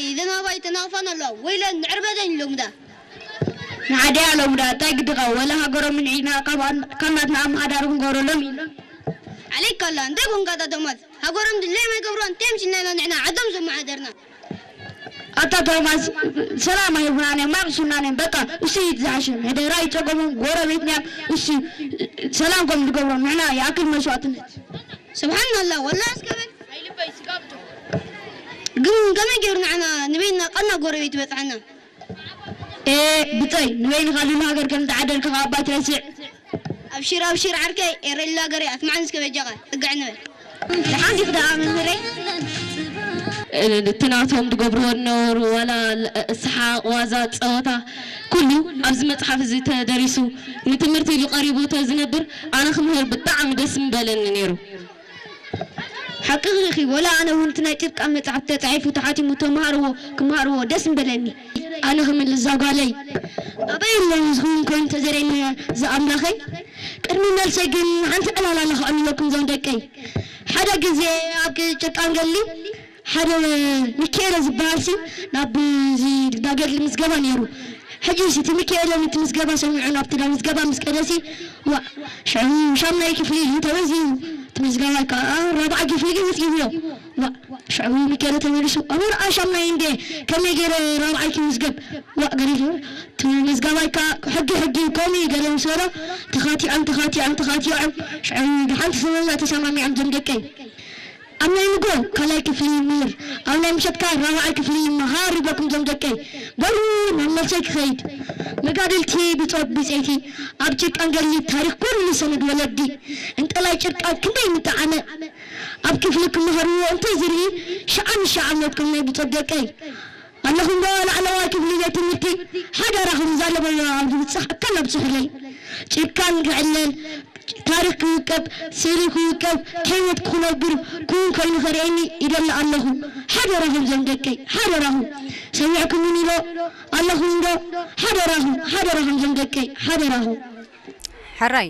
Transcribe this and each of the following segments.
እዘን ኣባይ ተናቕፋን ኣለዋ። ወይለን ንዕርበተን ኢሎም ዳ። ንዓደይ ኣለዉ ዳ፣ እንታይ ግድኻ? ወላ ሃገሮም ንዒና ካብ ኣን-፣ ካብ ናትና ኣመሓዳሪ ክንገብረሎም ኢሎም። ዓለይካ ኣላ፣ እንታይ ኮንካ ኣታ ቶማስ? ሃገሮም ድለዮም ኣይገብሩን፣ እንታይ ምሽናና ንሕና ዓዶም ዘመሓደርና? ኣታ ቶማስ፣ ሰላም ኣይብሉናን እዮም፣ ማቕሱናን እዮም። በቃ፣ እሱ እዩ ዝሓሸ። ሕደራ ይጸገሞም፣ ጎረቤትና እዮም። እሱ ሰላም ከም ዝገብሮም፣ ንሕና ይኣክል መስዋእትነት። ስብሓን ኣላ፣ ወላ እስከ በል። ግን ከመይ ገይሩ ንዓና ንበይንና ቀና ጎረቤት ይበጽሓና? ኤ፣ ብጸይ፣ ንበይንኻ ልሉ ሃገር ከም ዝዓደልካ ካብ ኣባ ትረስዕ። ኣብሽር፣ ኣብሽር ዓርከይ፣ ኤረላ ገሬ፣ ኣስማዕን እስከ በጃኻ፣ ጽግዕ ንበል። ደሓን ዲኹ ደኣ መምህረይ? እቲ ናቶም ዝገብርዎ ዝነበሩ ዋላ ል-፣ ሰሓቕ፣ ዋዛ፣ ጸወታ፣ ኩሉ ኣብዚ መጽሓፍ እዚ ተደሪሱ ንትምህርቲ ኢሉ ቀሪቡ ተዝነብር ኣነ ክምህር ብጣዕሚ ደስ ምበለኒ ነይሩ። ሓቅኺ ኢኺ፣ ወላ ኣነ እውን እቲ ናይ ጭቃ መጽሓፍ ተጻሒፉ ተሓቲሙ ተመሃርዎ ክመሃርዎ ደስ ምበለኒ። ኣነ ክምልስ እዛ ጓለይ። ኣበይ ኣሎ ዝኸውን ኮይኑ ተዘርኤኒ ዝኣምላኸይ? ቅድሚ መልሰይ ግን ሓንቲ ዕላል ኣላ ከዕልለኩም እዞም ደቀይ። ሓደ ግዜ ኣብ ጭቃን ገሊ ሓደ ሚካኤለ ዝበሃል ሲ ናብ እዚ ዳገድሊ ምዝገባ ነይሩ። ሕጂ ሲ እቲ ሚካኤለ ነቲ ምዝገባ ሰሚዑ ናብቲ ዳ ምዝገባ ምስ ከደ ሲ፣ ዋእ፣ ሽዑ ሻምናይ ክፍሊ እዩ ተመዝጊቡ። እቲ ምዝገባ ከዓ ራብዓይ ክፍሊ ግን መዝጊቡ ኣሎ። ዋእ፣ ሽዑ ሚካኤለ ተመሊሱ፣ "ኣበይ ረኣ ሻምናይ እንዴ? ከመይ ገይረ ራብዓይ ክምዝገብ?" ዋእ፣ ገዲፉ። እቲ ምዝገባይ ከዓ ሕጊ ሕጊ ከምኡ እዩ ገለ ምስ በሎ፣ ተኻቲዖም፣ ተኻቲዖም፣ ተኻቲዖም። ሽዑ ብሓንቲ ሰበዛ ተሰማሚዖም እዞም ደቀይ። ኣብ ናይ ንጎ ካልኣይ ክፍሊ ይምህር፣ ኣብ ናይ ምሸት ከኣ ራብዓይ ክፍሊ ይመሃር ይብለኩም እዞም ደቀይ። በሉ ናብ መልሰይ ክኸይድ። መጋድልቲ ብጾት ብጸይቲ ኣብ ጭቃን ገድሊ ታሪኽ ኩሉ ሰነድ ወለዲ። እንጠላይ ጭቃ ክንደይ ምጠዓመ። ኣብ ክፍሊ ክመሃርዎ እንተ ዝርኢ ሸዓ ንሸዓ ሞትኩም ናይ ብጾት ደቀይ። ኣለኹም ዶ ላዕለዋይ ክፍሊ ቤት ትምህርቲ ሓደራኹም ዛለበና ኣብ ዝብጽሕ ኣካል ኣብጽሑለይ። ጭቃን ክዕለል፣ ታሪኽ ክውቀብ፣ ስእሊ ክውቀብ፣ ከይወት ክነብር ክውን ኮይኑ ከርእየኒ ይደሊ ኣለኹ። ሓደራኹም ዞም ደቀይ፣ ሓደራኹም። ሰሚዕኩምኒ ዶ ኣለኹም ዶ? ሓደራኹም፣ ሓደራኹም ዞም ደቀይ፣ ሓደራኹም። ሕራይ፣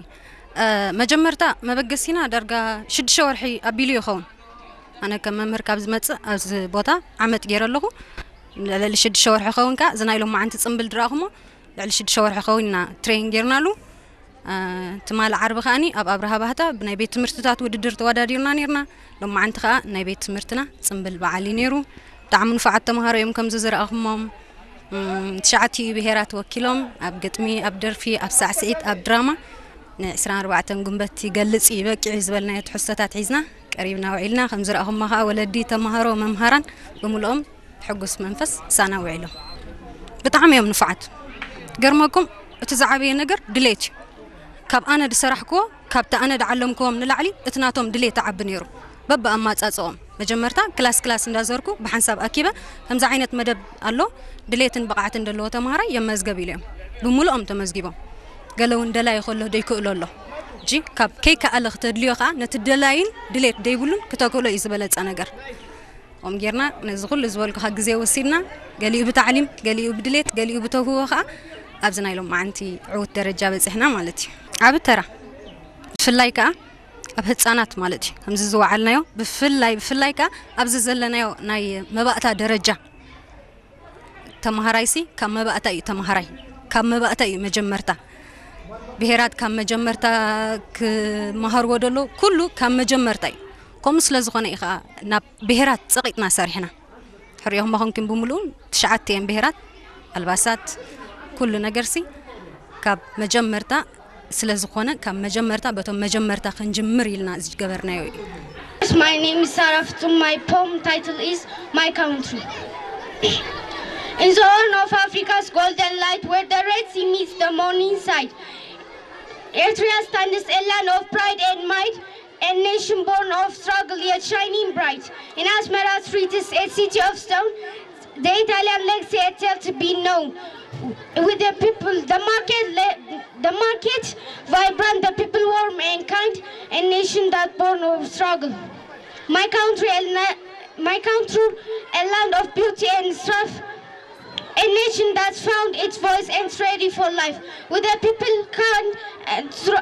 እ፣ መጀመርታ መበገሲና ዳርጋ ሽዱሽተ ወርሒ ኣቢሉ ይኸውን። ኣነ ከም መምህር ካብ ዝመጽእ ኣብዚ ቦታ ዓመት ገይረ ኣለኹ። ልዕሊ ሽዱሽተ ወርሒ ኸውን ከኣ እዚ ናይ ሎማዓንቲ ጽምብል ድረኣኹሞ ልዕሊ ሽዱሽተ ወርሒ ኸውን ኢና ትሬን ጌርናሉ። እ፣ ትማሊ ዓርቢ ከኣኒ ኣብ ኣብርሃ ባህታ ብናይ ቤት ትምህርትታት ውድድር ተወዳዲርና ኔርና። ሎማዓንቲ ከኣ ናይ ቤት ትምህርትና ጽምብል በዓል እዩ ኔሩ። ብጣዕሚ ንፉዓት ተምሃሮ እዮም ከምዚ ዝረኣኹሞም። እም፣ ትሽዓቲኡ ብሄራት ወኪሎም ኣብ ግጥሚ፣ ኣብ ደርፊ፣ ኣብ ሳዕስዒት፣ ኣብ ድራማ ንዕስራን ኣርባዕተን ጉንበት ይገልጽ እዩ በቂዑ ዝበልናዮ ትሕዝቶታት ሒዝና ቀሪብና ውዒልና። ከም ዝረኣኹሞ ከኣ ወለዲ፣ ተምሃሮ፣ መምሃራን ብምልኦም ብሕጉስ መንፈስ ምሳና ውዒሎም። ብጣዕሚ እዮም ንፉዓት። ገርመኩም እቲ ዝዓበየ ነገር ድሌት እዩ። ካብ ኣነ ዝሰራሕክዎ፣ ካብቲ ኣነ ዝዓለምክዎም ንላዕሊ እቲ ናቶም ድሌት ይዓቢ ነይሩ። በብኣማጻጽኦም መጀመርታ ክላስ ክላስ እንዳዘርኩ ብሓንሳብ ኣኪበ፣ ከምዚ ዓይነት መደብ ኣሎ፣ ድሌትን ብቕዓትን ዘለዎ ተምሃራይ የመዝገብ ኢለ እዮም። ብምሉኦም ተመዝጊቦም። ገለ እውን ደላይ ከሎ ዘይክእሎ ኣሎ። እጂ ካብ ከይከኣለ ክተድልዮ ከኣ ነቲ ደላይን ድሌት ዘይብሉን ክተክእሎ እዩ ዝበለጸ ነገር። ከምኡ ጌርና ነዚ ኩሉ ዝበልኩኻ ግዜ ወሲድና፣ ገሊኡ ብታዕሊም፣ ገሊኡ ብድሌት፣ ገሊኡ ብተውህቦ ከኣ ኣብዚ ናይ ሎማዓንቲ ዕዉት ደረጃ በጺሕና ማለት እዩ። ዓቢ ተራ፣ ብፍላይ ከኣ ኣብ ህጻናት ማለት እዩ። ከምዚ ዝወዓልናዮ፣ ብፍላይ፣ ብፍላይ ከኣ ኣብዚ ዘለናዮ ናይ መባእታ ደረጃ፣ ተመሃራይሲ ካብ መባእታ እዩ ተመሃራይ፣ ካብ መባእታ እዩ መጀመርታ። ብሄራት ካብ መጀመርታ ክመሃርዎ ደሎ ኩሉ ካብ መጀመርታ እዩ። ከምኡ ስለ ዝኾነ እዩ ከኣ ናብ ብሄራት ጸቒጥና ሰሪሕና። ሕሪኦም መኾንኩም ብምሉኡ ትሽዓተ እየን ብሄራት፣ ኣልባሳት፣ ኩሉ ነገርሲ ካብ መጀመርታ ስለ ዝኾነ ካብ መጀመርታ በቶም መጀመርታ ክንጅምር ኢልና ዝገበርናዮ እዩ። My name is Sarah Futsum. My poem title is My Country. In the horn of Africa's golden light, where the Red Sea meets the morning side, Eritrea stands a land of pride and might, a nation born of struggle yet shining bright. In Asmara streets, a city of stone, the Italian legacy a tale to be known. With the people, the market, le- the market vibrant, the people warm and kind, a nation that born of struggle. My country, a la- my country, a land of beauty and strife, a nation that's found its voice and ready for life. With the people kind and str-